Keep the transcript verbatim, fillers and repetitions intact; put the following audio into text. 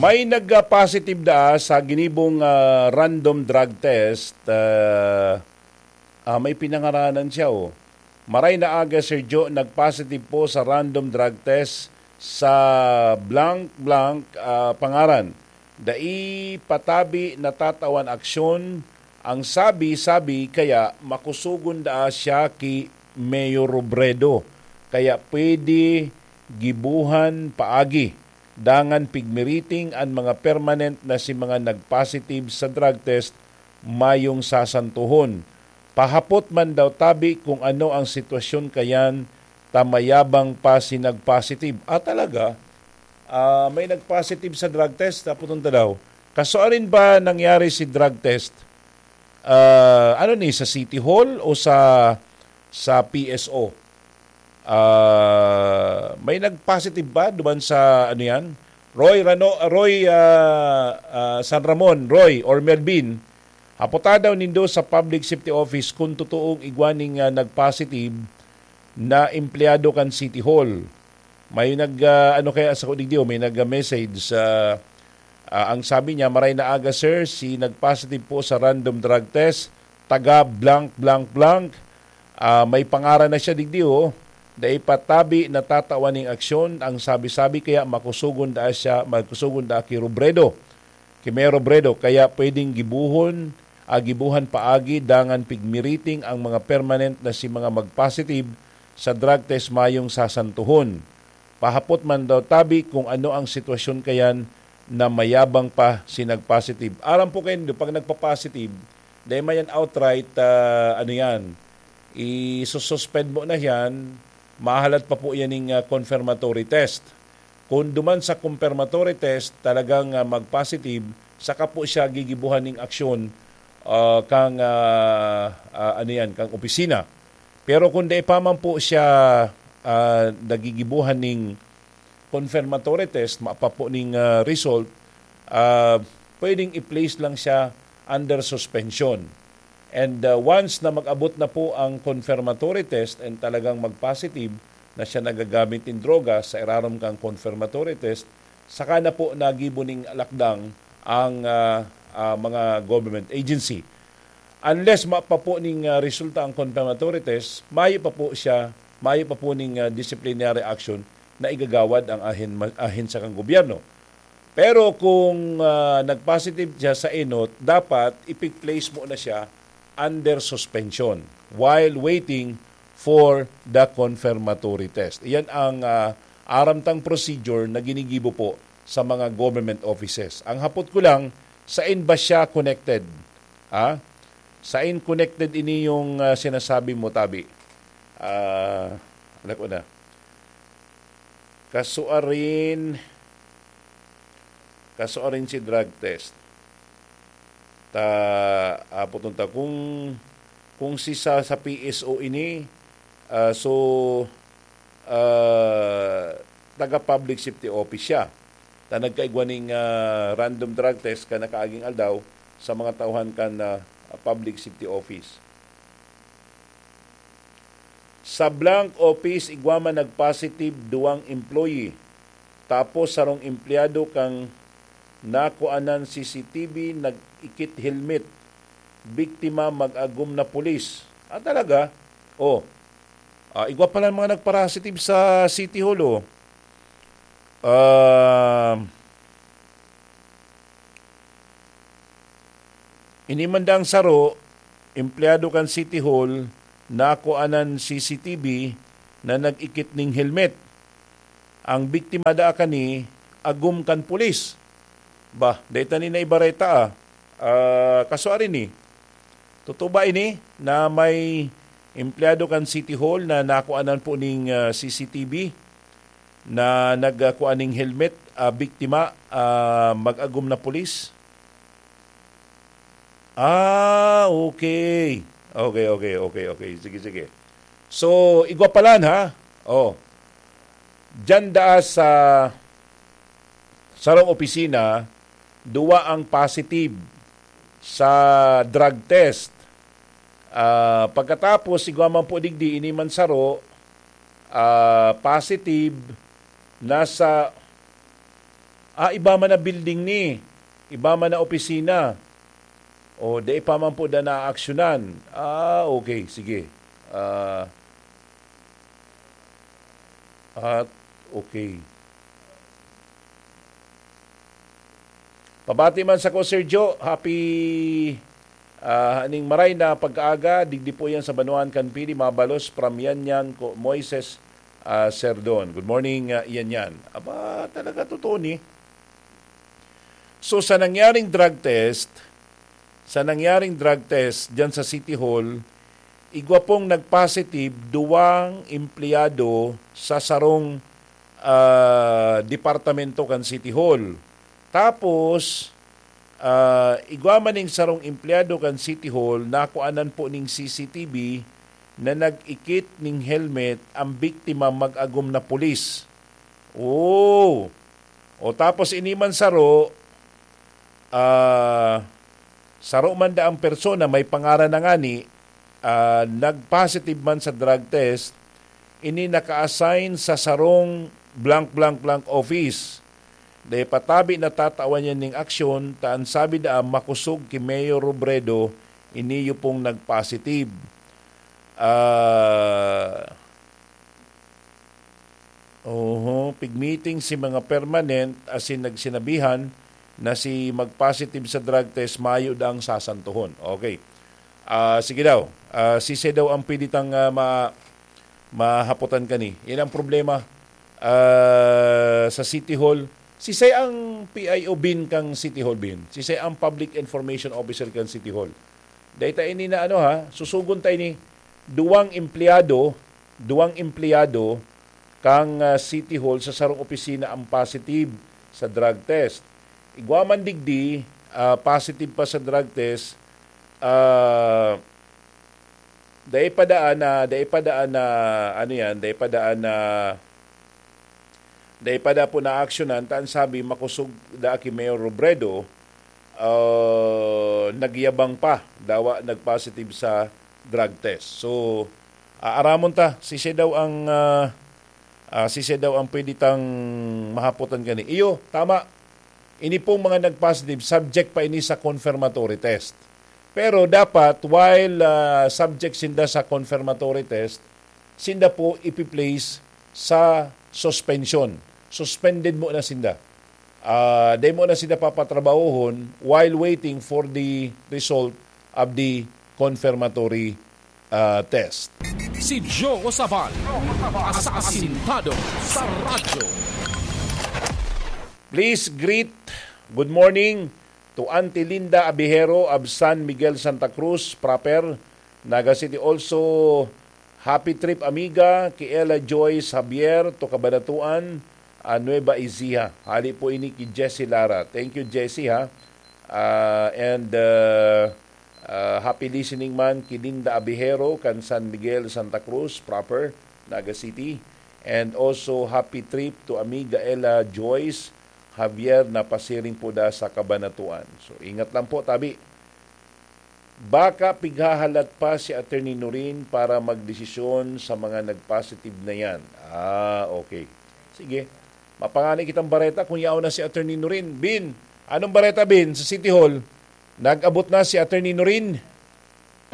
May nag-positive daa sa ginibong, ah, random drug test. Ah, ah, may pinangaranan siya, oh. Maray na aga, Sir Joe, nag-positive po sa random drug test sa blank-blank, ah, pangaran. Dai patabi natatawan aksyon. Ang sabi-sabi kaya makusogon daa siya ki Mayor Robredo. Kaya pwede gibuhan paagi. Dangan pigmiriting an mga permanent na si mga nag-positive sa drug test mayong sasantohon. Pahapot man daw tabi kung ano ang sitwasyon kayan ta mayabang pa si nag-positive. Ah, talaga? Ah, may nag-positive sa drug test, tapos ta daw. Kasuarin ba nangyari si drug test? Ah, ano ni, sa City Hall o sa, sa P S O? Ah, may nag-positive ba duman sa, ano yan? Roy Rano, Roy, ah, ah, San Ramon, Roy or Melvin, hapota daw nindo sa Public Safety Office kung totoong igwa ning, ah, nag-positive na empleyado kan City Hall. May nag, ah, ano kaya sa digdi, oh, may nag-message sa, ah, ang sabi niya, "Maray na aga, sir, si nag-positive po sa random drug test, taga blank, blank, blank." Ah, may pangaran na siya digdi, oh. Dai pa tabi natatawan ning aksyon, ang sabi-sabi kaya makusogon daa siya, makusogon daa ki Robredo. Ki Mayor Robredo, kaya pwedeng gibuhon, ah, gibuhan paagi dangan pigmiriting ang mga permanent na si mga mag-positive sa drug test mayong sasantohon. Pahapot man daw tabi kung ano ang sitwasyon kayan na mayabang pa si nag-positive. Aram po kayo, pag nagpa-positive, dahil mayan outright, ah, ano yan, isususpend mo na yan, mahalat pa po yan ng, ah, confirmatory test. Kung duman sa confirmatory test, talagang, ah, mag-positive, saka po siya gigibuhan ng aksyon, ah, kang, ah, ah, ano yan, kang opisina. Pero kung dai pa man po siya, ah, nagigibuhan ning confirmatory test, mapa po ning, ah, result, ah, pwedeng i-place lang siya under suspension. And, ah, once na mag-abot na po ang confirmatory test and talagang mag-positive na siya nagagamit nin droga sa irarom kang confirmatory test, saka na po nagibo ning lakdang ang, ah, ah, mga government agency. Unless mapa po ning, ah, resulta ang confirmatory test, mayo pa po siya, mayo pa po ning, ah, disciplinary action na igagawad ang ahin-, ahensya kan gobyerno. Pero kung, ah, nag-positive siya sa enot, dapat ipig-place mo na siya under suspension while waiting for the confirmatory test. Iyan ang, ah, aram tang procedure na ginigibo po sa mga government offices. Ang hapot ko lang, sain ba siya connected? Ah? Sain connected ini yung, ah, sinasabi mo, tabi? Ah, anak ko na. Kasuarin, kasuarin si drug test. Ta, apoton ta kung, kung si sa, sa P S O ini, ah, so, ah, taga public safety office siya. Ta nagkaigwa ning, ah, random drug test kan nakaaging aldaw sa mga tauhan kan, ah, public safety office. Sa blank office, igwa man nag-positive duwang employee. Tapos sarong empleyado kang nakuanan C C T V, nag-ikit helmet. Biktima, mag-agom na pulis. Ah, talaga? Oh. Ah, igwa pala mga nagparasitive sa City Hall, oh. Ah, ini man dang saro, empleyado kan City Hall, nakuanan C C T V na nag-ikit ning helmet. Ang biktima daa kani, agom kan pulis. Bah, dai ta ni naibareta, ah. Ah, kasuarin ni. Totoo ba ini na may empleyado kan City Hall na nakuanan po ning, ah, C C T V na nagkua ning helmet, ah, biktima, ah, mag-agom na pulis? Ah, okay. Okay, okay, okay, okay. Sige, sige. So, igwa palan, ha? Oh. Diyan daa sa sarong opisina, duwa ang positive sa drug test. Ah, pagkatapos, igwa man po digdi, ini man saro, ah, positive, nasa, Ah, iba man na building ni, iba man na opisina. O, dai pa man po na naaksyonan. Ah, okay, sige. Ah, at, okay. Pabati man sa ko, Sir Joe. Happy, ah, aning maray na pagkaaga. Digdi po yan sa Banwaan kan Pili, mabalos from Yanyan ko, Moises, ah, Serdon. Good morning, ah, Yanyan. Aba, talaga totoo ni. So, sa nangyaring drug test, sa nangyaring drug test diyan sa City Hall, igwa pong nagpositive duwang empleyado sa sarong, ah, departamento kan City Hall. Tapos, ah, igwa man ning sarong empleyado kan City Hall, nakuanan po ning C C T V na nag-ikit ning helmet ang biktima mag-agom na pulis. Oh. O tapos ini man saro, ah, saro man daang persona, may pangaran na ngani, ah, nag-positive man sa drug test, ini naka-assign sa sarong blank, blank, blank office. Dai pa tabi natatawan niya ning aksyon, ta an sabi daa makosog ki Mayor Robredo, iniyo pong nag-positive. Ah, oho, pigmeeting si mga permanent asin nagsinabihan na si mag-positive sa drug test, mayo daang sasantohon. Okay. Ah, sige daw. Ah, sisay daw ang pwede tang, ah, ma-, mahapotan kani? Yan ang problema, ah, sa City Hall. Sisay ang P I O bin kang City Hall bin? Sisay ang Public Information Officer kang City Hall? Dai ta ini na ano ha, susugon ta ini, duwang empleyado, duwang empleyado kang, ah, City Hall sa sarong opisina ang positive sa drug test. Igwa man digdi, ah, positive pa sa drug test, ah, dai pa daan na, dai pa daan na, ano yan, dai pa daan na, dai pa da po naaksyonan, ta an sabi, makosog da ki Mayor Robredo, ah, nagyabang pa, dawa nag-positive sa drug test. So, aaramon ta, sisay daw ang, ah, ah, sisay daw ang pwede tang mahapotan kani. Iyo, tama. Ini pong mga nag-positive, subject pa ini sa confirmatory test. Pero dapat, while, ah, subject sinda sa confirmatory test, sinda po ipi-place sa suspension. Suspended muna sinda. Ah, dai muna sinda papatrabahohon while waiting for the result of the confirmatory, ah, test. Si Joe Sabal, asasintado sa radyo. Please greet, good morning, to Auntie Linda Abihero of San Miguel, Santa Cruz proper, Naga City. Also, happy trip, amiga, ki Ella Joyce Javier to Cabanatuan, ah, Nueva Ecija. Hali po ini ki Jessie Lara. Thank you, Jessie, ha. Ah, and, ah, ah, happy listening man ki Linda Abihero kan San Miguel, Santa Cruz proper, Naga City. And also, happy trip to amiga Ella Joyce Javier na pasiring po da sa Cabanatuan. So, ingat lang po, tabi. Baka pighahalat pa si Attorney Norin para magdesisyon sa mga nag-positive na yan. Ah, okay. Sige. Mapangani kitang bareta kung yaon na si Attorney Norin. Bin, anong bareta, Bin, sa City Hall? Nag-abot na si Attorney Norin?